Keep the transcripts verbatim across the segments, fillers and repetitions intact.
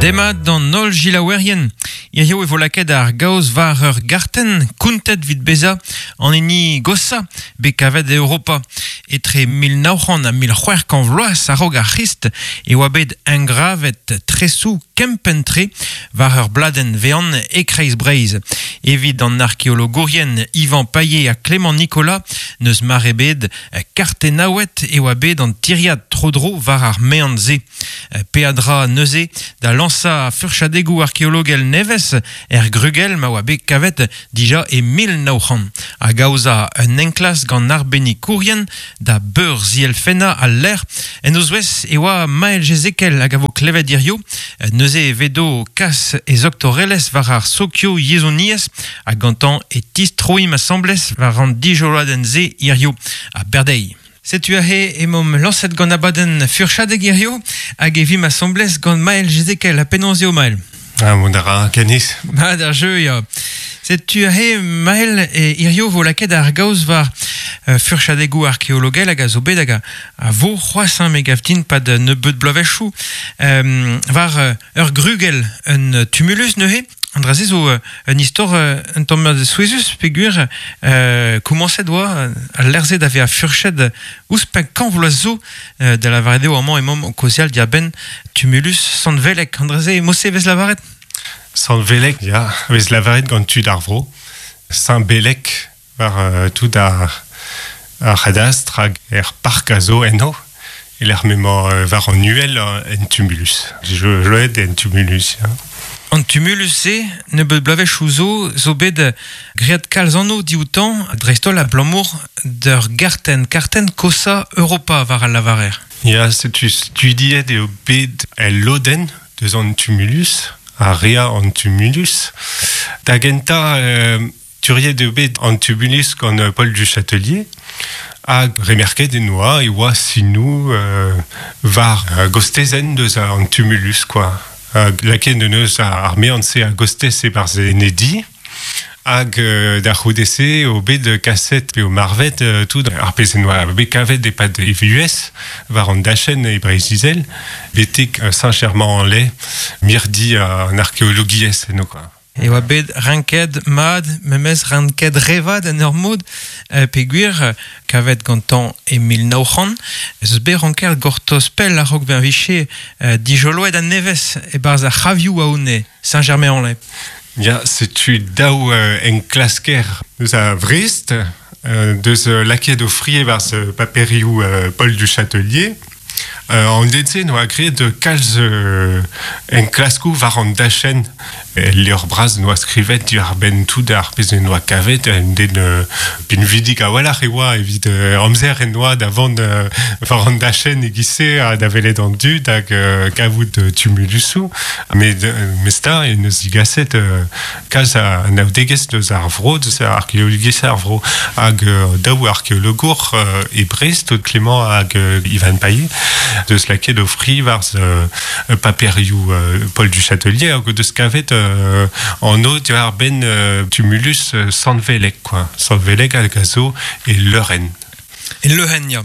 Demat d'an holl gilaouerien. Hirio e vo lakaet ar gaoz war ur gartenn kountet 'vit bezañ an hini gosa bet kavet e Europa. Etre mil nav c'hant ha mil c'hwec'h kant vloaz a-raok ar C'hrist e oa bet engravet tresoù kempenn-tre war ur bladenn vean e kreiz Breizh. Evit an arkeologourien Yvan Paillet ha Clément Nicolas n'eus mar ebet kartennaouet e oa bet an tiriad tro-dro war ar mean-se. Peadra neuze da lansañ furchadegoù arkeologel nevez er grugell ma oa bet kavet dija e mil nav c'hant. Hag aozañ un enklask gant arbennikourien da beurzielfennañ al lec'h. En o zouez e oa Maël Jezekel hag a vo klevet hirio. Neuze e vedo kas e zoktorelezh war ar sokio yezhoniezh hag gantañ e tistroimp asambles war an dijoloadenn-se hirio a Berdeiz. Setu aze emaomp lañset gant abadenn furchadeg hirio hag e vimp asambles gant Maël Jezekel. Ha penaos eo Maël? Ah, mont a ra, Kanis. Mat ar jeu, ya. Setu aze Maël e hirio vo lakaet ar gaoz war euh, furchadegoù arkeologel hag a zo bet hag a, a vo c'hoazh hein, me gav din pad nebeut bloavezhioù euh, war euh, ur grugell un tumulus neuze. An dra-se zo euh, un istor euh, un tamm souezhus peogwir euh, komañset oa al lec'h-se da vezañ furchet ouzhpenn kant vloaz zo euh, da lavaret eo amañ emaomp o kaozeal diarbenn tumulus Sant-Velek. An dra-se mod-se vez lavaret? Sant-Velek, ya, vez lavaret gant tud ar vro. Saint-Bélec war euh, tout ar, ar c'hadastr hag er park a zo eno. E lec'h m'emañ euh, war an uhel en tumulus. Je joet en tumulus, ya. An tumulus-se, nebeut bloavezhioù zo, zo bet graet kalz anv dioutañ, dreist-holl abalamour d'ur gartenn, kartenn kosañ Europa war al lavarer. Ya, setu studiet eo bet el lodenn deus an tumulus, a rea an tumulus. Da gentañ, euh, turiet eo bet an tumulus gant Paul du Châtelier, hag remerket en oa e oa sinoù euh, war euh, gostezenn deus an tumulus, quoi. Hag lakaet en deus ar mean-se a gostez e-barzh en e di, hag euh, da c'houde-se o bet kaset pe o marvet euh, tout ar pezh en oa bet kavet e-pad e vuhez war an dachenn e Breizh-Izel, betek Saint-Germain-en-Laye, mirdi an arkeologiezh eno, quoi. E oa bet renket mat, memes renket revat en ur mod, euh, peogwir kavet gantañ e mil nav c'hant, ez eus bet renket gortoz pell a-raok bezañ viche euh, dijoloet a-nevez e-barzh ar c'havioù a-hone, Saint-Germain-en-Laye. Ya, setu daou euh, enklasker deus a Vrest, euh, deus euh, lakaet o fri e-barzh paperioù euh, Paul du Châtelier. Euh, an den-se noa graet kalz euh, enklaskoù war an dachenn. El levr bras noa skrivet diwar-benn tout ar pezh en doa kavet, un den euh, pinvidik a-walc'h e oa evit euh, amzer en doa da vont euh, war an dachenn e-giz-se ha da welet an dud hag euh, kavout euh, tumulusoù. Met euh, mesta e neus digaset euh, kalz a anaoudegezh deus ar vro, deus ar arkeologiezh ar vro. Hag euh, daou arkeologour euh, e Brest, Clément hag euh, Ivan Paillet, deus lakaet o fri war euh, paperioù euh, Paul du Châtelier hag deus kavet euh, an o diwar benn euh, tumulus euh, Sant-Velek, quoi. Sant-Velek hag a zo e Leuren. E Leuren, ya.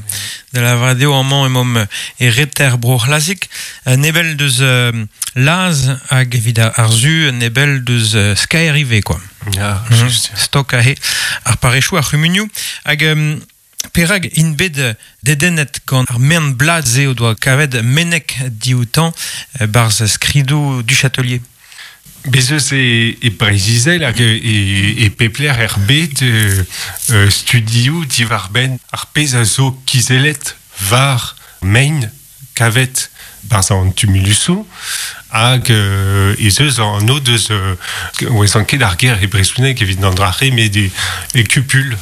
Da lavaret eo amañ emaomp e reter bro c'hlazik, nebell deus euh, Laz hag evit ar zu nebell deus euh, Skaer ivez, quoi. Ya, mm-hmm. just. Stok ahe ar parechou ar c'humunioù. Hag euh, perag int bet dedennet gant ar mern blad-se o doa kavet menek dioutañ barzh skridoù du Châtelier. Bez eus e, e Breizh-Izel hag e, e pep lec'h er bed euh, euh, studioù diwar-benn ar pezh a zo kizellet war mein kavet barzh an tumulusoù hag euh, ez eus an o deus euh, oez an ket ar ger e brezhoneg evit an dra-se met e, e kupul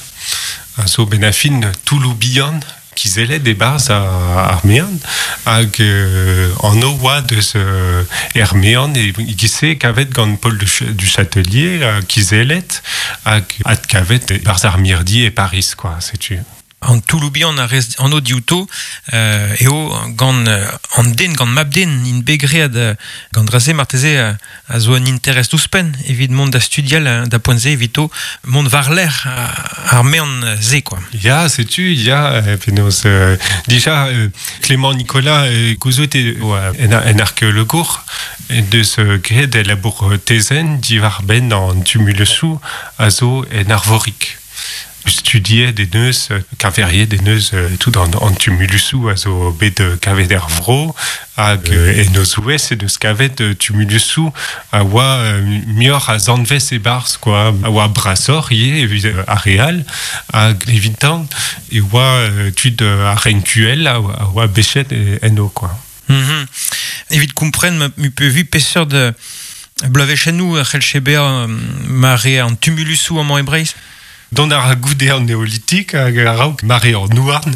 a zo ben a fin toulloù bihan kizellet e-barzh ar mean hag euh, an o oa deus euh, er mean e e-giz-se kavet gant Paul du, du Châtelier euh, kizellet hag adkavet e-barzh ar mirdi e Paris, quoi, setu. An touloubian a rez an o diouto euh, eo gant an den, gant mab den, in begread gant draze marteze a zo un interest ouzhpenn evit mont da studial da poent-se evito mont war l'air ar mean ze, quoi. Ya, setu, ya, penaos, euh, dija, euh, Clément Nicolas euh, gouzout eo en, en arkeologour deus euh, graet e labour tezen diwar benn an tumulusoù a zo en arvorik. Studiet de neus, kaveriet de neus tout an, an tumulusoù a zo bet kavet er vro hag en o zouez e deus kavet tumulusoù a oa mior a zanvez e barz, quoi, a oa brasor ivez evit ar real hag evitan e oa tud ar renkuel a oa bechet en o, quoi. Mm-hmm. Evit kompren mu pe vu peseurt de bloavezhennoù c'hellche bezañ mare an tumulusoù amañ e Breizh? Dont ar goude an neolitik hag a-raok mare an houarn.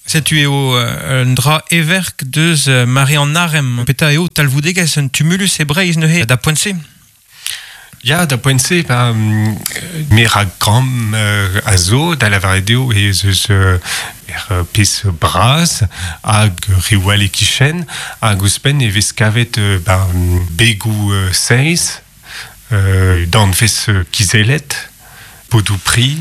Setu eo un dra everk deus mare an arem. Peta eo talvoudegezh un tumulus e Breizh neuze da poent-se? Ya, da poent-se, ba, mer a gramm euh, a zo, da lavaret eo ez eus euh, er pezh bras hag riwal e kichen, hag ouzhpenn e vez kavet euh, ba, begoù euh, seiz, euh, danvez kizellet, podou pri.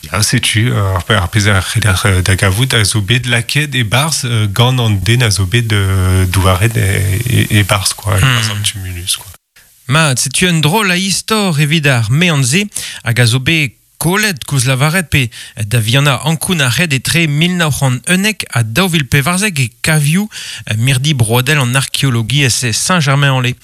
Ya, setu, ar, ar pezh a c'heller da gavout a zo bet laket e barz gant an den a zo bet douaret e, e, e barz, quoi, e barz an tumulus, quoi. Ma, setu un drôle a istor evit ar mean-se hag a zo bet kolet koulz lavaret pe da vihanañ ankoun ar red etre mil nav c'hant unnek ha daou vil pevarzek e kavioù mirdi broadel an arkeologiezh e Saint-Germain-en-Laye.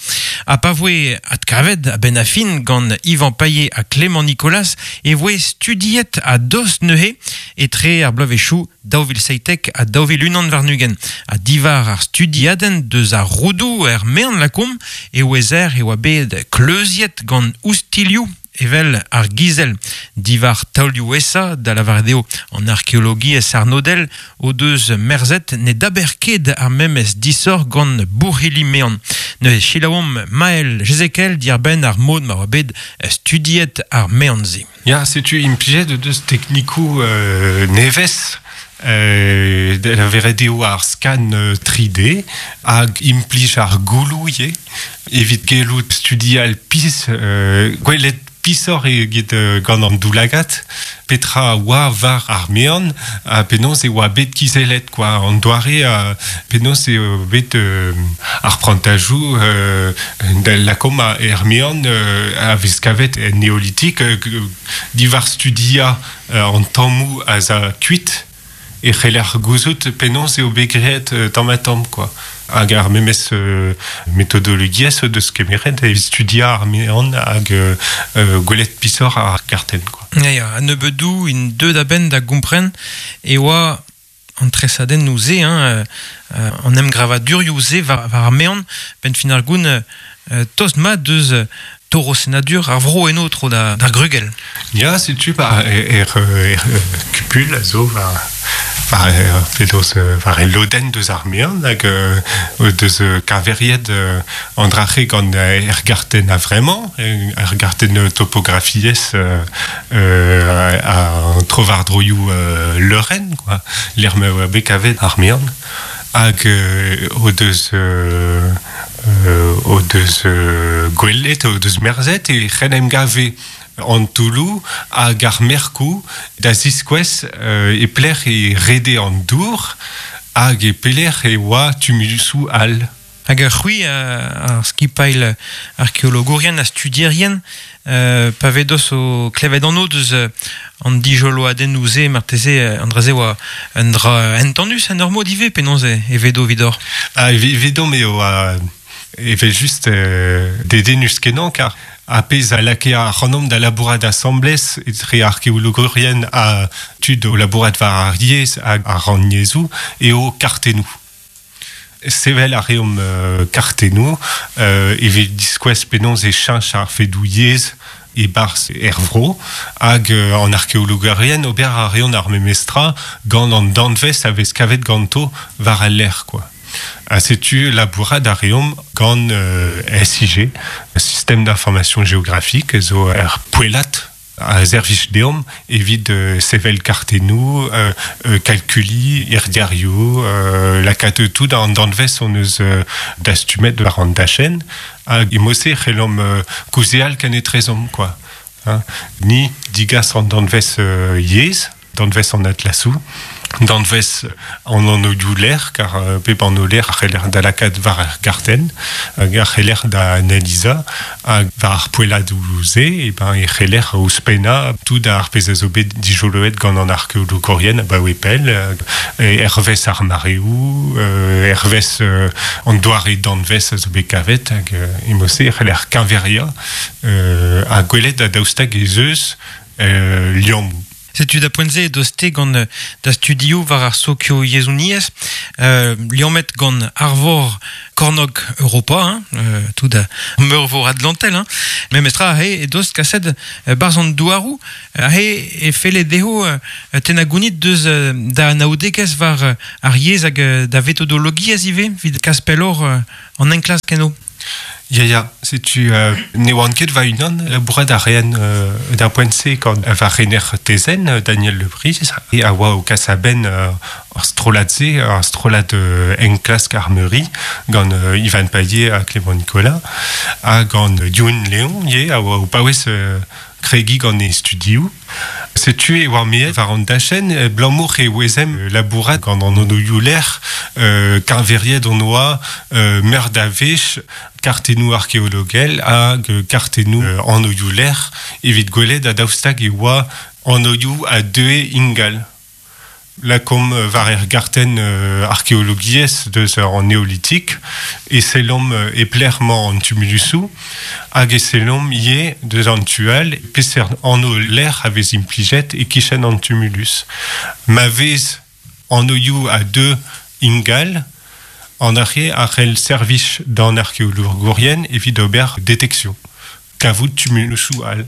Ha pa voe adkavet a-benn ar fin gant Yvan Paillet ha Clément Nicolas e voe studiet a dost neuze etre ar bloavezhioù daou vil seitek ha daou vil unan warn-ugent. Ha diwar ar studiadenn deus ar roudoù er mean lakomp e ouezer e oa bet kleuziet gant oustilioù evel ar gizel diwar taolioù esa da lavaret eo an arkeologiezh arnodel o deus merzet ne daber ket ar memes disoc'h gant bourc'hili mean. Neuze selaouomp Maël Jezekel diarbenn ar mod ma oa bet studiet ar mean-se. Ya, setu implijet deus teknikoù euh, nevez Euh, da lavaret eo ar scan tri D hag implij ar gouloù ivez evit gellout studial pizh euh, gwelet pisoc'h eget gant an doulagat petra oa war ar mean ha penaos e oa bet kizellet, quoi, an doare ha penaos eo bet euh, ar prantajoù euh, da lakomp er mean euh, a vez kavet en neolitik euh, diwar studia euh, an tammoù a za kuit e c'heller gouzout penaos eo bet graet tamm ha tamm, quoi. Hag ar memes euh, metodologiezh deus kemeret evit studiañ ar mean hag euh, gwelet pisoc'h ar kartenn, quoi. Ya, ya, a nebeudou in deu da benn da gompren e oa an tresadennoù se, hein, euh, an emgravadurioù se war, war ar mean, benn fin ar goun euh, tost mat deus torosennadur ar vro eno tro da, d'ar grugell. Ya, setu ba er, er, er kupul a zo war war penaos war e lodenn deus ar mean hag deus kaveriet an drache gant er gartenn a vremañ, er gartenn topografiezh a tro war droioù leurenn, quoi, lec'h ma oa bet kavet ar mean hag o deus o deus gwelet, o deus merzet e c'hen em gave an touloù hag ar merkoù da ziskouez euh, e plec'h e rede an dour hag e pelec'h e oa tumulusoù all. Hag ar c'hwi ar skipailh arkeologourien ha studierien euh, pa vedos o klevet an o deus an dijoloadennoù se marteze an dra-se oa un dra entendus en ur mod ivez penaos e vedo vidor. Ah, vedo me oa evel just euh, dedennus kenañ kar a pezh a lakae ac'hanomp da labourat asambles etre arkeologourien ha tud o labourat war ar yezh hag ar rannyezhoù eo kartennoù. Sevel a reomp euh, kartennoù euh, evit diskouez penaos e cheñch ar fedoù yezh e barzh er vro hag euh, an arkeologourien ober a reont ar memestra gant an danvez a vez kavet ganto war al lec'h, quoi. Ha setu labourat a reomp gant euh, S I G, Système d'information géographique, zo er poellat A servij deomp evit euh, sevel kartennoù, euh, euh, kalkuli, irdiario, euh, lakaat tout an danvez on eus euh, dastumet war an dachenn, hag e mose c'hellomp euh, kaozeal kenetrezomp, quoi. Hein. Ni digas an danvez euh, yezh, danvez an atlasou, danvez an anv lec'h, kar euh, pep anv lec'h a c'heller da lakaat war ar gartenn, hag a c'heller da analiza, hag war ar poelladoù-se, e ben e c'heller ouzhpennañ tout ar pezh a zo bet dijoloet gant an arkeologourien abaoe pell, euh, hervez ar mareoù, euh, hervez euh, an doare danvez a zo bet kavet, hag euh, e mose e c'heller keñveriañ euh, ha gwelet ha daoust hag ez eus euh, liammoù. Setu da poent-se edos-te gant da studioù war ar sokio-yezhouniezh, euh, liammet gant arvor kornog Europa, hein, euh, tout da meurvor Atlantel, hein. Memestra aze edos kaset barzh an douaroù, aze e felle dezho euh, tennañ gounid deus euh, da anaoudegezh war euh, ar yezh hag euh, da vetodologiezh ivez, evit kas pelloc'h euh, an enklask eno. Ya, ya, setu euh, ne oan ket va-unan labourat a raen euh, d'ar poent-se gant va rener tezenn euh, Daniel Le Bris e a oa o kas a-benn euh, ar strollad-se, ar strollad euh, enklask ar Meuri gant euh, Ivan Paillet ha Clément Nicolas ha gant Youn Léon ivez a oa o paouez euh, kregiñ gant e studioù. Setu e oa meet war an dachenn abalamour e ouezemp labourat gant an anvioù lec'h euh, keñveriet hon oa euh, meur a wech kartennoù arkeologel hag kartennoù euh, anvioù lec'h evit gwelet ha daoust hag e oa anvioù a deue ingal. Lakaomp war ar gartenn euh, arkeologiezh deus an neolitik e sellomp e pelec'h emañ an tumulusoù hag e sellomp ivez deus an tu all peseurt anv lec'h a vez implijet e-kichen an tumulus. Ma vez anvioù a deu ingal, an dra-se a c'hell servij d'an arkeologourien evit ober deteksion. Kavout tumulusoù all.